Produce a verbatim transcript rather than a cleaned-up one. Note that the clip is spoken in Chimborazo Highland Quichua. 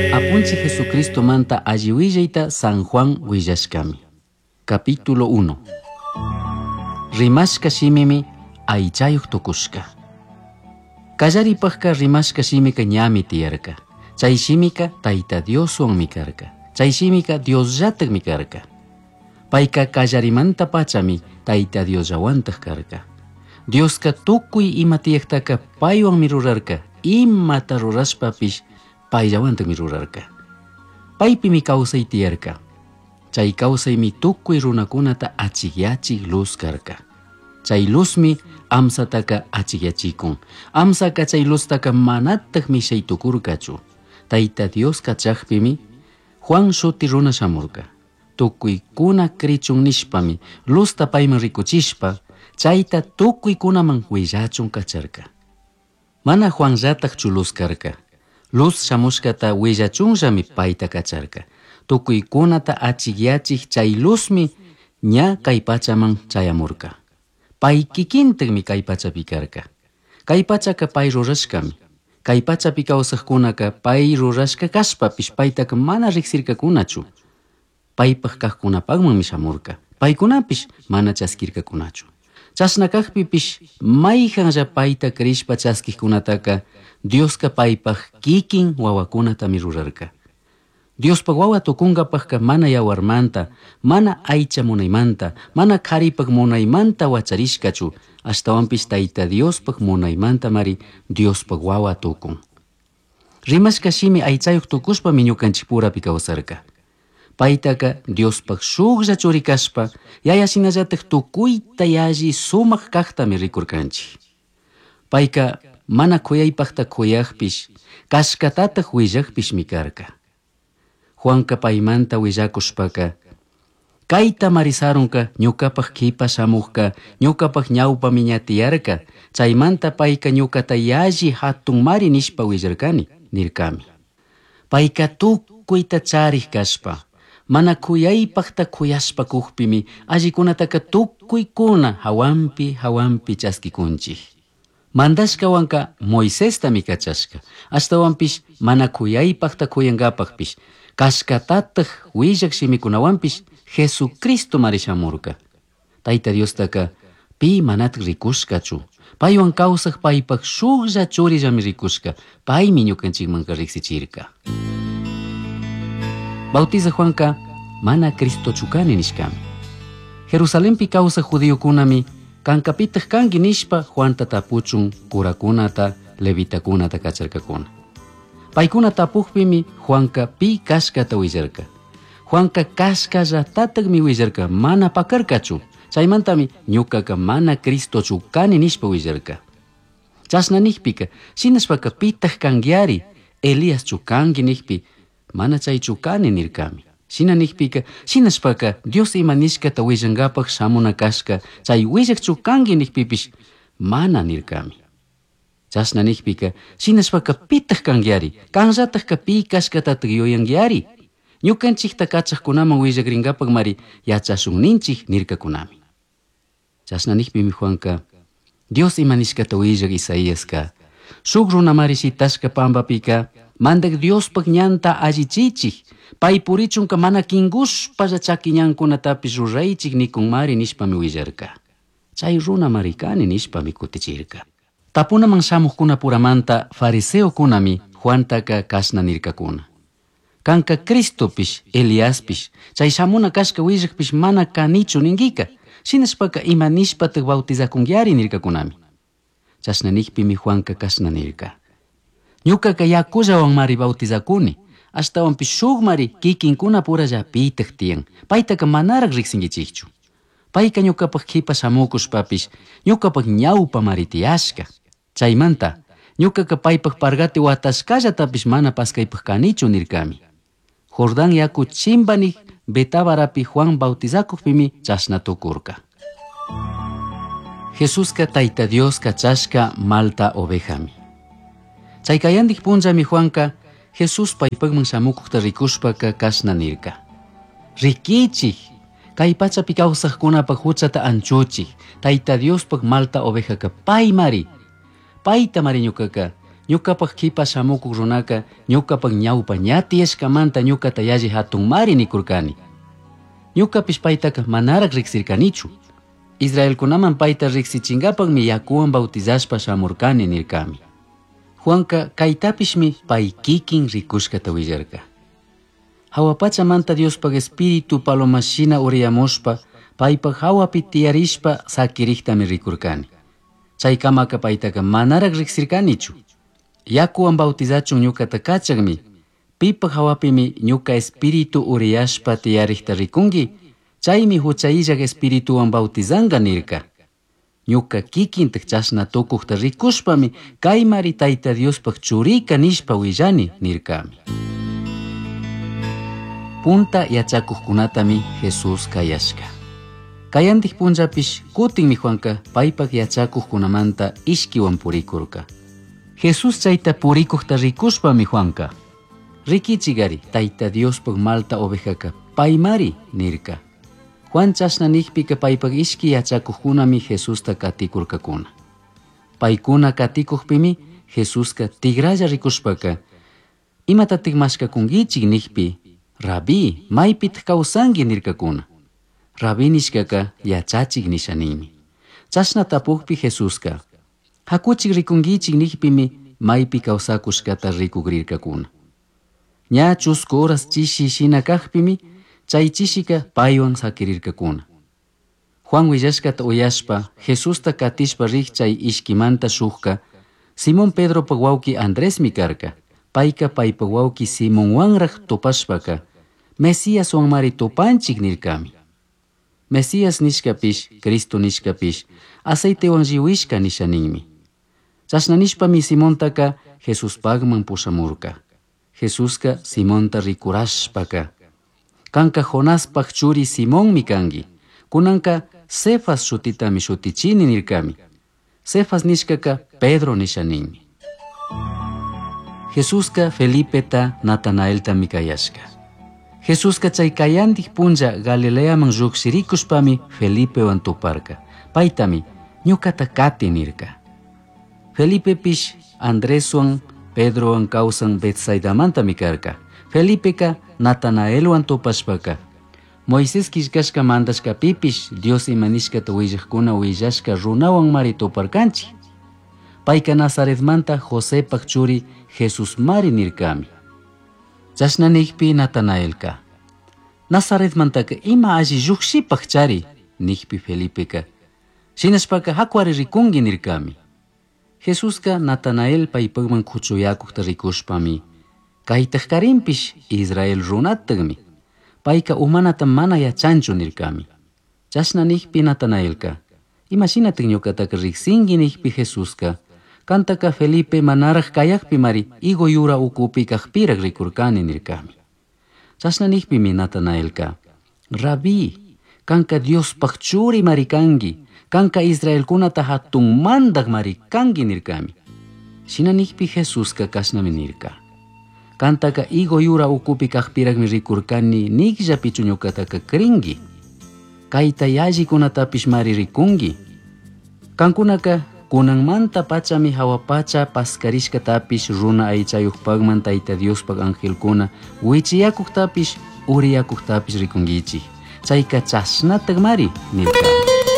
Apunchij Jesucristomanta alli willayta San Juan willashkami. Capítulo uno. Rimashka shimimi aychayuq tukushka. Kallaripajka rimashka shimika ñami tiyarka. Chay shimika Tayta Dioswanmi karka. Chay shimika Diosllatakmi karka. Payka kallarimanta pachami Tayta Diosllawantaj karka. Dioska tukuy ima tiyajtaka paywanmi rurarka. Imata rurashpapish payllawantakmi rurarka. Paypimi kawsay tiyarka. Chay kawsaymi tukuy runakunata achikyachik luz karka. Chay luzmi amsataka achikyachikun. Amsaka chay luztaka manataj mishay tukurkachu. Tayta Dios kachakpimi Juan shuti runa shamurka. Tukuykuna krichun nishpami luzta payman rikuchishpa chayta tukuykunaman willachun kacharka. Mana Juanllatajchu luz karka. Luz shamushkata willachunllami payta kacharka. Tukuykunata achikyachik chay luzmi ña kay pachaman chayamurka. Pay kikintakmi kay pachapi karka. Kay pachaka pay rurashkami. Kay pachapi kawsaqkunaka pay rurashka kashpapish paytaka mana riqsirkakunachu. Paypaq kaqkunapaqmanmi shamurka. Paykunapish mana chaskirkakunachu. Chashna kaqpipish mayqanlla payta crishpa chaskiqkunataka Dioska paypaq kikin wawakunatami rurarka. Diospaq wawa tukunkapaqka mana yawarmanta, mana aycha munaymanta, mana qharipaq munaymanta wacharishkachu, ashtawanpish Tayta Diospaq munaymantamari Diospaq wawa tukun. Rimashka shimi aychayuq tukushpami ñukanchikpurapi kawsarka. Paytaka Diospaq shuklla churi kashpa, yaya shinallatak tukuyta yalli sumaq kaqtami rikurkanchik. Payka mana khuyaypaqta khuyaqpish, kashkatataq willaqpishmi karka. Juanka paymanta willakushpaka, kayta marisarunka ñuqapaq qipa shamuqka, ñuqapaq ñawpami ña tiyarka, chaymanta payka ñuqata yalli hatunmari nishpa willarkani, nirkami. Payka tukuyta charik kashpa, mana khuyaypaqta khuyashpa kuqpimi allikunataka tukuykuna hawanpi hawanpi chaskikunchik. Mandashkawanka Moisestami kachashka, ashtawanpish mana khuyaypaqta khuyankapaqpish, kashkatataq willaq shimikunawanpish Jesucristo mari shamurka. Tayta Diostaka pi manataq rikushkachu. Paywan kawsaq paypaq shuklla churillami rikushka, paymi ñukanchikmanka riqsichirka. Bautiza Juanka mana Cristochu kani nishkami. Jerusalenpi kawsaq judiokunami kankapitaq kanki nishpa Juanta tapuchun kurakunata, levitakunata kacharkakuna. Paykuna tapuqpimi Juanka pi kashkata willarka. Juanka kashkallatataqmi willarka, mana pakarkachu. Chaymantami ñuqaka mana Cristochu kani nishpa willarka. Chashna nijpika, shinashpaka pitaq kankiari, Eliaschu kanki nijpi, mana chaychu kani nirkami. Shina nijpika, shinashpaka Dios ima nishkata willankapaq shamuna kashka, chay willaqchu kanki nijpipish, mana nirkami. Chashna nijpika, shinashpaka pitaq kankiari, kanllatakka pi kashkatataq yuyankiari. Ñukanchikta kachaqkunaman willakrinkapaqmari yachashun ninchik nirkakunami. Chashna nijpimi Juanka, Dios ima nishkata willaq Isaíaska, shuk runamari shitashka pampapika, mandak Diospaq ñanta allichichik, pay purichunka mana kinkushpalla chaki ñankunatapish ruraychik nikunmari nishpami willarka. Chay runamari kani nishpami kutichirka. Tapunaman shamuqkunapuramanta fariseokunami Juantaka kashna nirkakuna. Kanka Cristopish, Eliaspish, chay shamuna kashka willaqpish mana kanichu ninkika, shinashpaka ima nishpataq bautizakunkiari nirkakunami. Chashna nijpimi Juanka kashna nirka. Ñuqaka yakullawanmari bautizakuni, ashtawanpish shukmari kikinkunapurallapitaq tiyan, paytaka manaraq riqsinkichikchu. Payka ñuqapaq qipa shamukushpapish, ñuqapaq ñawpamari tiyashka. Chaymanta, ñuqaka paypaq pargati watashkallatapish mana paskaypaq kanichu nirkami. Jordán yaku chimbanik Betabarapi Juan bautizakuqpimi chashna tukurka. Jesuska Tayta Dios kachashka malta ovejami. Chay kayandik punllami Juanka Jesús paypaqman shamukuqta rikushpaka kashna nirka. Rikichik, kay pachapi kawsaqkunapaq huchata anchuchik, Tayta Diospaq malta ovejaka paymari. Payta mari ñuqaka, Ñuqapaq qipa shamukuq runaka ñuqapaq ñawpa ña tiyashkamanta ñuqata yalli hatunmari nikurkani. Ñuqapish paytaka manaraq riqsirkanichu. Israelkunaman payta riqsichinkapaqmi yakuwan bautizashpa shamurkani nirkami. Juanka kaytapishmi pay kikin rikushkata willarka. Hawa pachamanta Diospaq espíritu palomashina uriyamushpa paypaq hawapi tiyarishpa sakiriqtami rikurkani. Chaykamaka paytaka manaraq riqsirkanichu. Yakuwan bautizachun ñuqata kachaqmi, pipaq hawapimi ñuqa espíritu uriyashpa tiyariqta rikunki, chaymi hucha illaq espirituwan bautizanqa nirka. Ñuqa kikintaq chashna tukuqta rikushpami kaymari Tayta Diospaq churika nishpa willani nirkami. Punta yachakuqkunatami Jesús kayashka. Kayantik punllapish kutinmi Juanka paypaq yachakuqkunamanta ishkiwan purikurka. Jesús chayta purikuqta rikushpami Juanka, rikichigari Tayta Diospaq malta ovejaka paymari nirka. Juan chashna nikpika paypaq ishki yachakuqkunami Jesusta katikurkakuna. Paykuna katikuqpimi Jesuska tigralla rikushpaka, imatatik mashkakunkichik nikpi, Rabí, maypitaq kawsanki nirkakuna. Rabí nishkaka yachachik nisha ninmi. Chashna tapukpi Jesuska, hakuchik rikunkichik nikpimi maypi kawsakushkata rikukrirkakuna. Ña chusku horas chishi shina kaqpimi chay chishika paywan sakirirkakuna. Juan willashkata uyashpa Jesusta katishpa riq chay ishkimanta shukka Simón Pedropaq wawqi Andresmi karka. Payka paypaq wawqi Simonwanraq tupashpaka Mesíaswanmari tupanchik nirkami. Mesías nishkapish, Cristo nishkapish, aceitewan lliwishka nisha ninmi. Chashna nishpami Simontaka Jesuspaqman pushamurka. Jesuska Simonta rikurashpaka, kanka Jonaspaq churi Simonmi kanki, kunanka Cefas shutitami shutichini nirkami. Cefas nishkaka Pedro nisha ninmi. Jesuska Felipeta Natanaeltami kayashka. Jesuska chay kayantik punlla Galileaman lluqshirikushpami Felipewan tuparka. Paytami ñuqata kati nirka. Felipepish Andreswan Pedrowan kawsan Betsaidamantami karka. Felipeka Natanaelwan tupashpaka, Moisés killkashka mandashkapipish Dios ima nishkata willaqkuna willashka runawan mari tuparkanchik. Payka Nazaretmanta Josepaq churi Jesusmari nirkami. Chashna nikpi Natanaelka, Nazaretmantaka ima alli lluqshipaq chari, nikpi Felipeka, shinashpaka hakuari rikunki nirkami. Jesuska Natanael paypaqman kuchuyakuqta rikushpami, kaytaq karinpish Israel runataqmi, payka umanata mana yachanchu nirkami. Chashna nikpi Natanaelka, imashinataq ñuqataka riqsinki nikpi Jesuska, kantaka Felipe manaraq kayaqpi mari higo yura ukupi kaqpiraq rikurkani nirkami. Chashna nikpimi Natanaelka, Rabí, kanka Diospaq churi mari kanki, kanka Israelkunata hatun mandaq mari kanki nirkami. Shina nikpi Jesuska kashnami nirka. Kantaka higo yura ukupi kaqpiraqmi rikurkani nikllapichu ñuqataka crinki. Kayta yallikunatapish mari rikunki. Kankunaka kunanmanta pachami hawa pacha paskarishkatapish runa aychayuqpaqman Tayta Diospaq angelkuna wichiyakuqtapish uriyakuqtapish rikunkichik. Chayka chashnataq mari nirka.